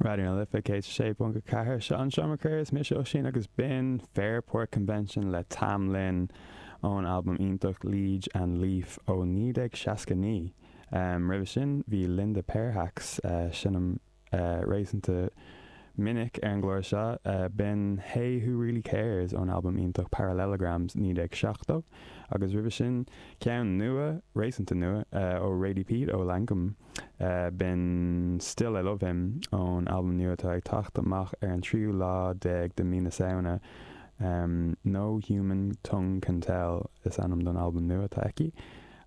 Raidió na Life 106.4 Seo an Seomra Comhrá is mise Oisín agus b'in Fairport Convention le Tam Lin ón albam iontach Liege and Lief ó 1969. Roimhe sin bhí Linda Perhacs, seinnim réasúnta minic ar an gclár seo, b'in Hey Who Really Cares ón albam iontach Parallelograms 1970 agus roimhe sin ceann nua, réasúnta nua, ó Radie Peat ó Lankum. B'in Still I Love Him ón albam nua atá ag teacht amach ar an tríú lá déag de mí na Samhna. No Human Tongue Can Tell is ainm don albam nua atá aici.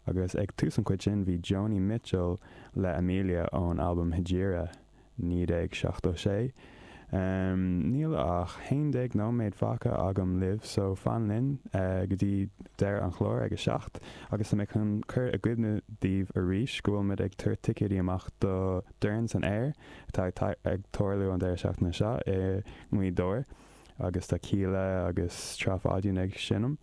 Agus ag tús an chuid sin bhí Joni Mitchell le Amelia ón albam Hejira. 1976. Níl ach 11 nóiméad fágtha agam libh so fan linn go dtí deireadh an chláir ag a 7 agus tá mé chun cur i gcuimhne daoibh arís go bhfuil muid ag tabhairt ticéidí amach do Dorn san Aer atá ag tarlú an deireadh seachtaine seo i nGaoth Dobhair agus tá Kíla agus Trá Pháidín ag seinm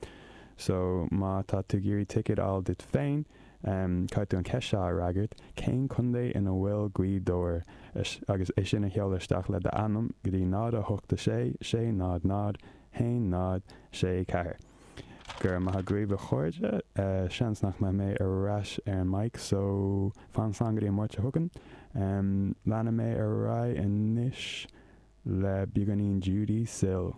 so má tá tú ag iarraidh ticéad a fháil duit féin Caithfidh tú an cheist seo a fhreagairt, Cén contae ina bhfuil Gaoth Dobhair? agus é sin a sheoladh isteach le d'ainm go dtí 0 8 6 6 0 0 1 0 6 4. Go raibh maith agaibh a chairde. Seans nach mbeidh mé ar ais ar an mic so fan slán go dtí an Máirt seo chugainn. Leanfaidh mé ar aghaidh anois le beagáinín Judee Sill.